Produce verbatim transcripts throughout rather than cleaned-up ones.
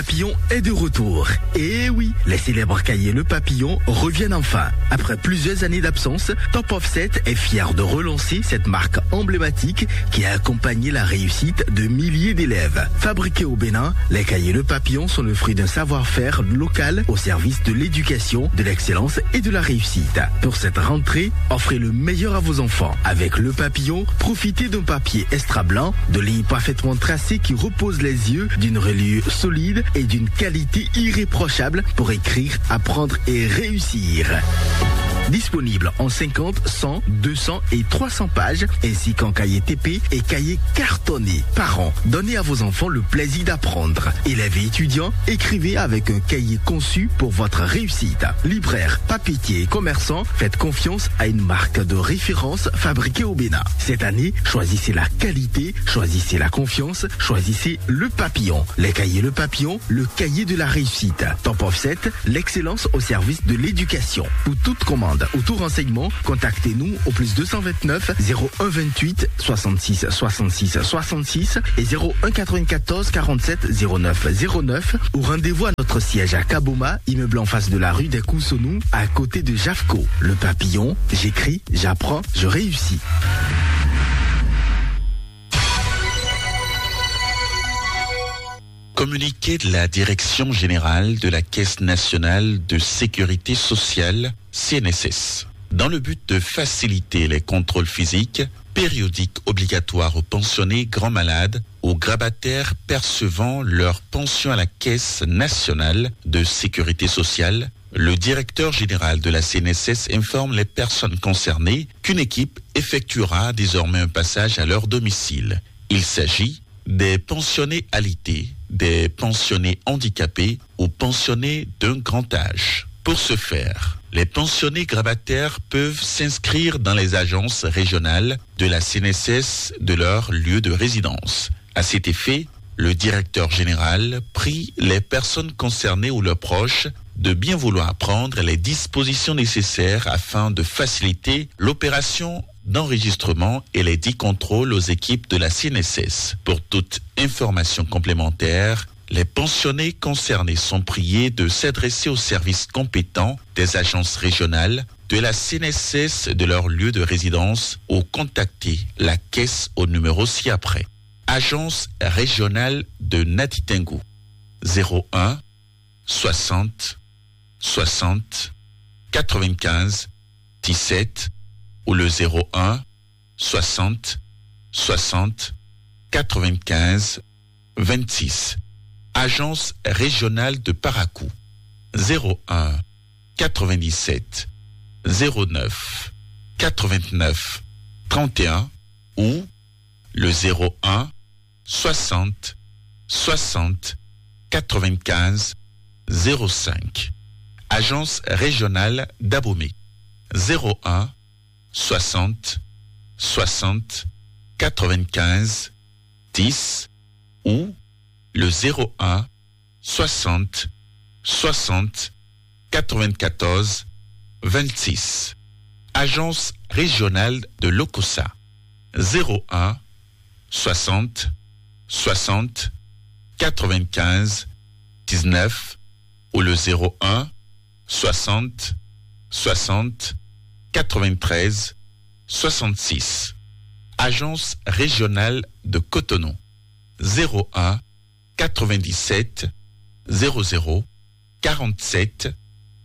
Papillon est de retour. Et oui, les célèbres cahiers Le Papillon reviennent enfin. Après plusieurs années d'absence, Top Offset est fier de relancer cette marque emblématique qui a accompagné la réussite de milliers d'élèves. Fabriqués au Bénin, les cahiers Le Papillon sont le fruit d'un savoir-faire local au service de l'éducation, de l'excellence et de la réussite. Pour cette rentrée, offrez le meilleur à vos enfants. Avec Le Papillon, profitez d'un papier extra blanc, de lignes parfaitement tracées qui reposent les yeux, d'une reliure solide et d'une qualité irréprochable pour écrire, apprendre et réussir. Disponible en cinquante, cent, deux cents et trois cents pages, ainsi qu'en cahier T P et cahier cartonné. Parents, donnez à vos enfants le plaisir d'apprendre. Élèves et étudiants, écrivez avec un cahier conçu pour votre réussite. Libraires, papetiers et commerçants, faites confiance à une marque de référence fabriquée au Bénin. Cette année, choisissez la qualité, choisissez la confiance, choisissez Le Papillon. Les cahiers Le Papillon, le cahier de la réussite. Top Offset, l'excellence au service de l'éducation. Pour toute commande ou tout renseignement, contactez-nous au plus deux cent vingt-neuf, zéro un vingt-huit, soixante-six, soixante-six, soixante-six et zéro un quatre-vingt-quatorze, quarante-sept, zéro neuf, zéro neuf, ou rendez-vous à notre siège à Kaboma, immeuble en face de la rue des Coussonou, à côté de Jafco. Le Papillon, j'écris, j'apprends, je réussis. Communiqué de la Direction générale de la Caisse nationale de sécurité sociale, C N S S. Dans le but de faciliter les contrôles physiques, périodiques obligatoires aux pensionnés grands malades, aux grabataires percevant leur pension à la Caisse nationale de sécurité sociale, le directeur général de la C N S S informe les personnes concernées qu'une équipe effectuera désormais un passage à leur domicile. Il s'agit des pensionnés alités, des pensionnés handicapés ou pensionnés d'un grand âge. Pour ce faire, les pensionnés grabataires peuvent s'inscrire dans les agences régionales de la C N S S de leur lieu de résidence. À cet effet, le directeur général prie les personnes concernées ou leurs proches de bien vouloir prendre les dispositions nécessaires afin de faciliter l'opération d'enregistrement et les dix contrôles aux équipes de la C N S S. Pour toute information complémentaire, les pensionnés concernés sont priés de s'adresser aux services compétents des agences régionales de la C N S S de leur lieu de résidence ou contacter la caisse au numéro ci-après. Agence régionale de Natitengu, zéro un, soixante, soixante, quatre-vingt-quinze, dix-sept, ou le zéro un, soixante, soixante, quatre-vingt-quinze, vingt-six. Agence régionale de Parakou, zéro un, quatre-vingt-dix-sept, zéro neuf, quatre-vingt-neuf, trente et un, ou le zéro un, soixante, soixante, quatre-vingt-quinze, zéro cinq. Agence régionale d'Abomey, zéro un, soixante, soixante, quatre-vingt-quinze, dix, ou le zéro un, soixante, soixante, quatre-vingt-quatorze, vingt-six. Agence régionale de Lokossa, zéro un, soixante, soixante, quatre-vingt-quinze, dix-neuf, ou le zéro un, soixante, soixante, quatre-vingt-treize, soixante-six. Agence régionale de Cotonou, zéro un, quatre-vingt-dix-sept, zéro zéro, quarante-sept,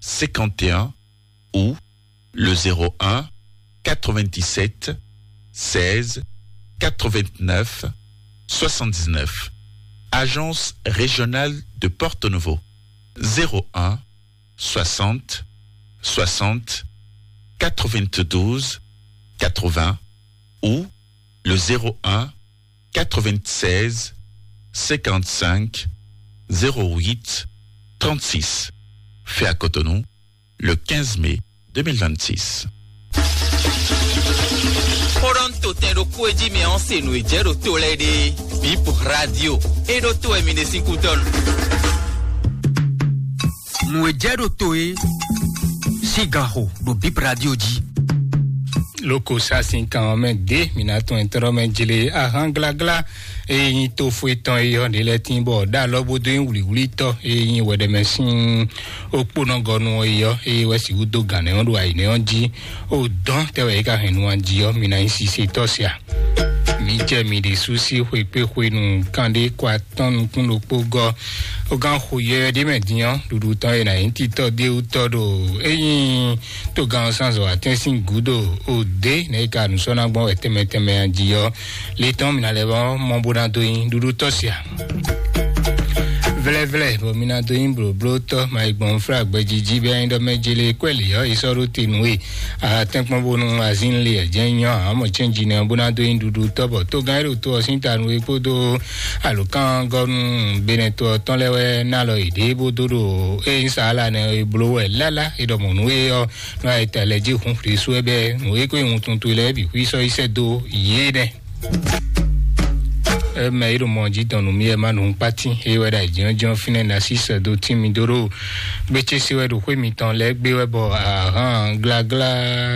cinquante et un, ou le zéro un, quatre-vingt-dix-sept, seize, quatre-vingt-neuf, soixante-dix-neuf. Agence régionale de Porto Novo, zéro un, soixante, soixante, quatre-vingt-douze, quatre-vingts, ou le zéro un, quatre-vingt-seize, cinquante-cinq, zéro huit, trente-six. Fait à Cotonou, le quinze mai deux mille vingt-six. Xó ɖɔ nú to tɛn ɖokpó e jí mɛ ɔ́ se nǔ e jɛ ɖo to lɛ́ɛ ɖe. Bip Radio. E ɖo to wɛ mi ɖe sín kútɔ́ nu. Nǔ e jɛ ɖo to e sín ganxo ɖo Bip Radio jí. Loko sa sin kan ɔ́ mɛ ɖě mǐ ná tɔn ɛ tlɔ́ mɛ jlé ahán gláglá. Eye nyí tófó etɔn e yɔ ɖe lɛ́ɛ tín bɔ ɖó alɔ bó dó nyí wlǐwlítɔ́ e nyí wɛɖɛmɛ sín okpónɔgɔnu ɔ́ yi ɔ́, eye wɛ sixú dó gǎn nɛ́ ɔ́ ɖo ayǐ nɛ́ ɔ́ jí. O dɔn tɛ wɛ é ka hɛn nu jí ɔ́, mi ná nyí sisetɔ́ sia. Mi jɛ mi ɖésú sí xwekpéxwenu kanɖé kɔ atɔ́n nukún ɖokpó gɔ́. O gán xo yɔyɔ ɖé mɛ din ɔ́, ɖuɖu tɔn e ná nyí titɔ déwútɔ́ ɖo ényí togán ɔ́ sán zɔ atɛ́n sín gǔdo o dé nɛ́ é ka nǔ sɔ́ ná gbɔn wɛ tɛnmɛ tɛnmɛ jí ɔ́, le tɔn mi ná lɛ́ vɔ mɔ bó ná dó nyí ɖuɖu tɔ́ sia. Vlɛ́vlɛ́ bɔ mi ná dó nyí blǒblótɔ́ ma yi gbɔn flá gbɛjiji bɛ nyi ɖɔ mɛ jele kwɛ́ lě ɔ́, yi sɔ́ ɖó te nú we. Atɛ́nkpɔ́n bónú azín le ɛ jɛ́n nyɔ amɔ cɛ́nji nɛ bó ná dó nyí ɖuɖu tɔ́ bɔ tógán e ɖo to ɔ́ sín ta nú we kpódó alǒkángɔ́nú benɛtɔ tɔn lɛ́ɛ wɛ ná lɔ yěɖée bó dó ɖo ényí saala nɛ e bló wɛ lála e ɖɔ mɔ̌ nú we ɔ́, nú ayeta lɛ jí hun Klisu wɛ bɛ́ nǔ e ko nyí wuntun towe lɛ́ɛ bǐ xwí sɔ́ yi sɛ́ dó yě nɛ́. Mɛ e ɖo mɔ jí dɔn nú mì wɛ má nǔ kpátín é wɛ ɖo ayǐjínjɔ́n fínɛ́ ná sí sɛ́ dó tín mi dó ɖo gbécésé wɛ ɖo xwé mitɔn lɛ́ɛ gbé wɛ bɔ ahán gláglá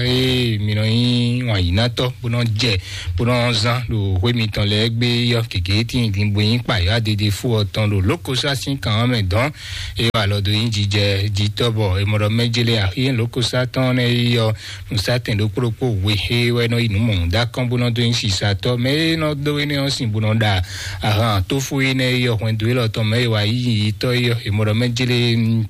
e mi nɔ nyí wǎnyínátɔ́ bó nɔ jɛ bó nɔ zán ɖo xwé mitɔn lɛ́ɛ gbé yɔ gěgé tíin din bó nyí kpayɔ́ adede fú ɔ́ tɔn ɖo lókosá sín kan ɔ́ mɛ dɔn. Eye wà lɔ dó nyí jijɛ jitɔ́ bɔ è mɔ ɖɔ mɛ jélé axí lókosá tɔn nɛ́ yi ɔ́, nǔsátɛn ɖokpó ɖokpó we xé wɛ nɔ yi nǔ mɔ̌hun dó akɔ́n bó nɔ dó nyí sisatɔ́. Mɛ e nɔ dó énɛ́ ɔ́ sin bó nɔ ɖa ahan tófó énɛ́ yi ɔ́ hwɛndo élɔ́ tɔn mɛ e wà yí yiyitɔ́ yi ɔ́, è mɔ ɖɔ mɛ jélé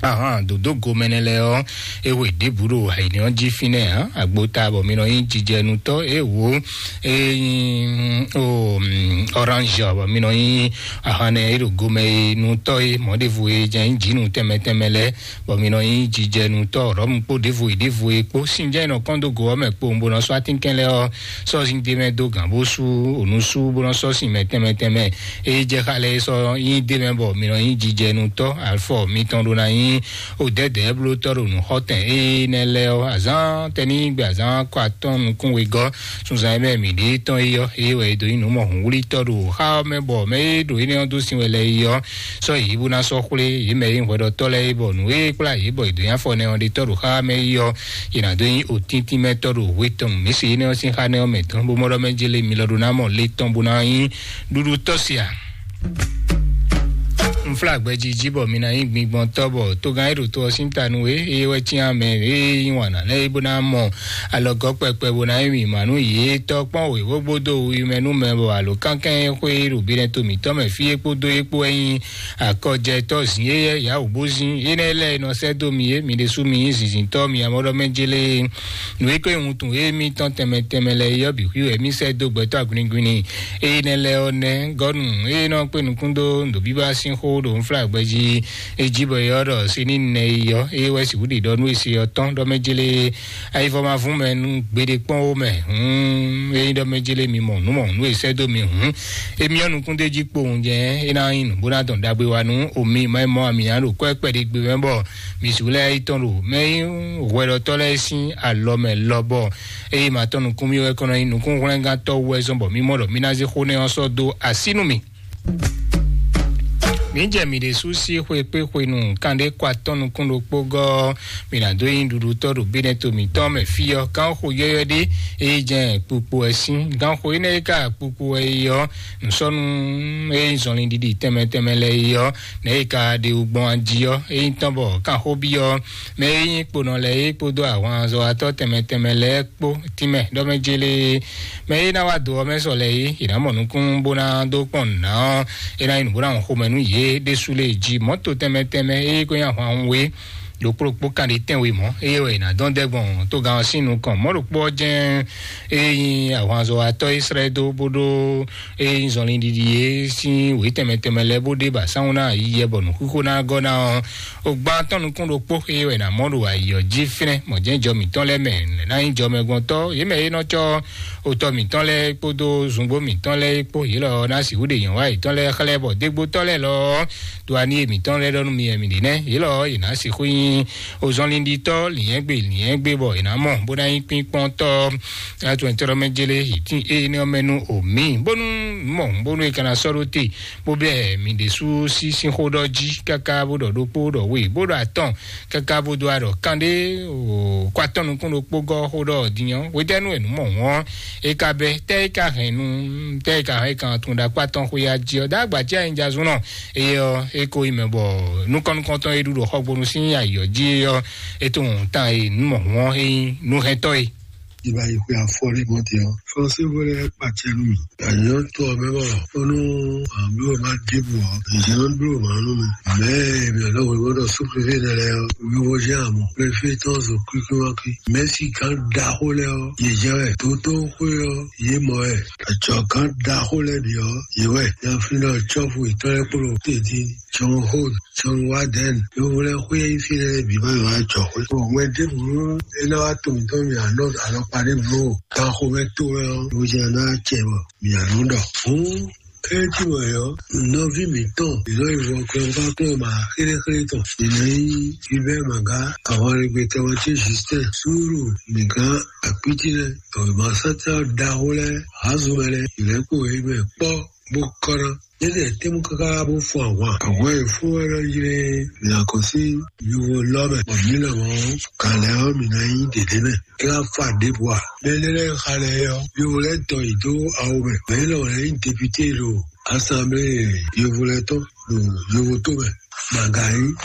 ahan dǒdó gomɛnɛ lɛ́ɛ ɔ́, é hwe ɖěbǔ ɖo ayǐnɛ́ ɔ́ jí fínɛ́ ǎ. Agbota bɔ mi nɔ nyí jijɛnutɔ́ é wǒ é nyí o orange bɔ mi nɔ nyí ahan nɛ é ɖo gomɛ e nutɔ́ é mɔ̌ ɖěvo e jɛ nyí jǐnu tɛnmɛ tɛnmɛ lɛ́ɛ, bɔ mi nɔ nyí jijɛnutɔ́ rɔ̌mu kpó ɖěvo yi ɖěvo e kpó. Sin jɛ́n nɔ kɔn dó go ɔ́ mɛ kpowun bó nɔ sɔ́ atínkɛn lɛ́ɛ ɔ́, sɔ́ zín ɖé mɛ dó gǎn bó sú ònú sú bó nɔ sɔ́ sin mɛ tɛnmɛ tɛnmɛ. Eye jɛ xa lɛ́ɛ sɔ́ nyí ɖé mɛ bɔ mi nɔ nyí jijɛnutɔ́ afɔ mitɔn ɖó ná nyí o dɛ̌dɛ̌ blótɔ́ ɖo nǔxɔtɛn énɛ́ lɛ́ɛ ɔ́, azǎn tɛnígbe azǎn kɔ atɔ́n nukún wegɔ́ sunzan e mɛ mǐ ɖe tɔn é ɔ́, é wɛ é dó nyí nǔ mɔhunwlítɔ́ ɖo xá ɔ́ mɛ bɔ mɛ e ɖo énɛ́ ɔ́ dó sin wɛ lɛ́ɛ é ɔ́, sɔ́ yě bó ná sɔ́ xwlé yě mɛ e nyí hwɛɖɔtɔ́ lɛ́ɛ é bɔ nǔ e kplá yě bɔ yě dó nyí afɔ nɛ ɔ́ ɖe tɔ́ ɖo xá mɛ é ɔ́, yě ná dó nyí òtíntín mɛ tɔ́ ɖo hwe tɔn mǐ se énɛ́ ɔ́ sín xá nɛ́ ɔ́ mɛ tɔn bó mɔ ɖɔ mɛ jélé mi lɔ ɖó ná mɔ le tɔn bó ná nyí ɖuɖu tɔ́ sia. Nfla gbɛjiji bɔ mi ná nyí gbigbɔn tɔ́ bɔ togán e ɖo to ɔ́ sín ta nú we eye wɛ cyán mɛ eye yí wǎn ná lɛ́ɛ bó ná mɔ alɔgɔ́ kpɛkpɛ bó ná nyí mǐmá nú yě tɔ́ kpɔ́n wěwógbó dó wiwi mɛ nú mɛ bɔ alo kánkɛ́n e xwé ɖo binɛ to mǐtɔn mɛ fí é kpódó é kpó wɛ nyí akɔjɛtɔ́ zǐn éyɛ́ yǎwǔ bó zín énɛ́ lɛ́ɛ e nɔ sɛ́ dó mi é mi ɖésú mi nyí zǐnzíntɔ́ mi amɔ́ɖɔmɛ jélé. Nǔ e ko nyí wuntun émítɔn tɛnmɛ tɛnmɛ lɛ́ɛ é ɔ́ bǐ xwí wɛ mí sɛ́ dó gbɛtɔ́ agwlingwlin. Énɛ́ lɛ́ɛ ɔ́ nɛ́ gɔ́nu e nɔ kpé nukún dó nǔɖobíbá sín xó ɖo nflágbɛjí é jí bɔ é ɔ́ ɖɔ se ní nɛ yi ɔ́ é wɛ sixú ɖi ɖɔ nú e se ɔ́ tɔn ɖɔ mɛ jélé. Ayivɔ ma vún mɛ nú gbeɖé kpɔ́n ó mɛ hǔn é nyí ɖɔ mɛ jélé mi mɔ nǔ mɔ nǔ e sɛ́ dó mi hǔn. Émí ɔ́ nukún d'é jí kpowun jɛ́n é ná nyí nǔ bó ná dɔn ɖagbe wa nú omi mɔ é mɔ amǐ ná ɖo kwɛ́ kpɛɖé gbe mɛ bɔ mi sixú lɛ́ yi tɔn ɖo mɛ nyí hwɛɖɔtɔ́ lɛ́ɛ sín alɔ mɛ lɔ bɔ eye ma tɔn nukún mì wɛ kɔnɔ nyi nukún hwlɛngantɔ wɛ zɔn bɔ mì mɔ ɖɔ mì ná zé xó nɛ ɔ́ sɔ́ dó así nú mì. Mǐ jɛ mǐ ɖésú sí xwe kpé xwenu kanɖé kɔ atɔ́ nukún ɖokpó gɔ́ mǐ ná dó nyi ɖuɖutɔ́ ɖo bínɛ́ to mǐtɔn mɛ fí ɔ́ gán xo yɔ́yɔ́ ɖé eye jɛ kpukpu wɛ sín gán xo énɛ́ e ka kpukpu wɛ yi ɔ́ nǔsɔ́nú eye zɔnlin ɖiɖi tɛnmɛ tɛnmɛ lɛ yi ɔ́ nɛ̌ e ka ɖe wú gbɔn ají ɔ́ eye tɔn bɔ kan xó byɔ́ mɛ e nyí kponɔ lɛ́ɛ é kpódó ahwanzɔ́watɔ́ tɛnmɛ tɛnmɛ lɛ́ɛ kpó tínmɛ ɖɔ mɛ jélé mɛ e ná wá do ɔ́ mɛ sɔ lɛ́ɛ é è nǎ mɔ nukún bó ná dó kpɔn nǔ ná ɔ́ é ná nyí nǔ bó ná wɔn xomɛ nú yě ɖésú lé jí mɔ̌to tɛnmɛ tɛnmɛ é ko nyí ahwan we ɖokpó ɖokpó kanɖe tɛnwe mɔ̌ eye wɛ è nǎ dɔn dɛ́ gbɔn togán ɔ́ sín nukɔn mɔ̌ ɖokpó ɔ́ jɛ́n é nyí ahwanzɔ́watɔ́ Ísírɛ́lí dó bó ɖó é nyí zɔnlin ɖiɖi é sín wě tɛnmɛ tɛnmɛ lɛ́ɛ bó ɖe ba sánwó ná ayi yɛ bɔ nǔxíxó ná gɔ́ ná ɔ́. Ogbán tɔn nukún ɖokpó xé wɛ ná mɔ ɖo ayǐ ɔ́ jí fínɛ́ mɔ̌jɛ́njɔ mǐtɔn lɛ́ɛ mɛ ná nyí jɔmɛgbɔntɔ́ yě mɛ é nɔ cɔ́ otɔ mǐtɔn lɛ́ɛ kpódó zungbó mǐtɔn lɛ́ɛ kpó yě lɔ ná sixú ɖe nyɔ̌wa yětɔn lɛ́ɛ xlɛ́ bɔ dégbótɔ́ lɛ́ɛ lɔ do ani mǐtɔn lɛ́ɛ ɖɔ nú mi wɛ mǐ ɖe nɛ́ yě lɔ yě ná sixú nyí Ozɔnlinditɔ lìyɛngbe lìyɛngbe bɔ è nǎ mɔ bó ná nyí kpínkpɔ́ntɔ́ atúntɔ́rɔmɛjélé ìtín énɛ́ ɔ́ mɛ nú omi bónú mɔ bónú è ka ná sɔ́ ɖó te bó bɛ́ mì ɖésú sí sín xó ɖɔ jí káká bó ɖɔ ɖokpó ɖɔ we bó ɖɔ atɔn káká bó dó aɖɔ kanɖé kó atɔn nukún ɖokpó gɔ́ xó ɖɔ din ɔ́ hwetɛ́nu wɛ nǔ mɔ hɔn é ka bɛ́ tɛ́ é ka hɛn nu tɛ́ é ka hɛn é kan tun ɖo akpá tɔn xwé ya jí ɔ́ dó agba jí anyinjazún nɔ eye ɔ́ é ko yi mɛ bɔ nukɔn nukɔntɔn e ɖu ɖo xɔgbonu sín ayǐ ɔ́ jí é ɔ́ é tunwun tan e nǔ mɔ hɔn é nyí nuhɛntɔ́ e. Ìgbà yìí xwe afɔ ní mɔ tè ɔ́. Fɔnsí wọlé pàtẹ nù mí. Àyàn tó ọmọ bọ̀. Ó nú àbí wọ́n máa dìbò ọ́. Ìjẹ́ ló ń dúró màá nù mí. Mẹ́ẹ̀ mi ọ̀dọ́ wo gbọ́dọ̀ sún pépé rẹ̀ lẹ́ ọ́. Wíwo jẹ́ àmọ́. Pépé tán zo kúkú wá kí. Mẹ́sì kan da ó lẹ́ ọ́. Yèjẹ́ rẹ̀ tó tó xwé ọ́. Yé mọ̀ ẹ́. Àjọ kan da ó lẹ́ bì ọ́. Yé wẹ̀. Yá fi náà tsɔ́fù ìtọ́lẹ́kpọ̀lọ́ tètè. John Hood, John Warden, yovlɛ xwé yi fi lɛ bi ma yɔ ajɔ xwé. Ŋwɛ ɖěbǔ é ná wá to mǐtɔn mì anɔ alɔkpa ɖěbǔ o. Ganxomɛ to wɛ ɔ́, ló jɛ ná cɛ bɔ mì anɔ ɖɔ. Hǔn kɛ́ tí wɛ ɔ́, nɔví mǐtɔn, ìlɔ ìwọ kplɔnfákplɔn ma xéléxélé tɔn. Ìlọ yí Hubert Maga, àwọn arɛgbɛtɔmɔ tí Justin, Súúrù, nìkan àkpítí lɛ, ọ̀rọ̀ ma sátá ɖaxó lɛ, azumɛ lɛ, ìlẹ́kùn yìí mɛ kpɔ́ bó kɔ́ ná. Yédè tɛ́mú káká bó fún ahwan. Ahwan e fún wɛ lɔ yi lé mǐ ná kɔ sí yovo lɔ mɛ. Bɔ mǐ lɔ mɔ kalɛ ɔ́ mǐ ná nyí ɖěɖé mɛ. É wá fa ɖěbǔ a? Mɛ lɛ́ lɛ́ xa lɛ ɔ́, yovo lɛ́ tɔ yi dó awo mɛ. Mɛ lɔ lɛ́ nyí député ɖo assemblée yovo lɛ́ tɔn ɖo yovo tó mɛ. Màgàyí.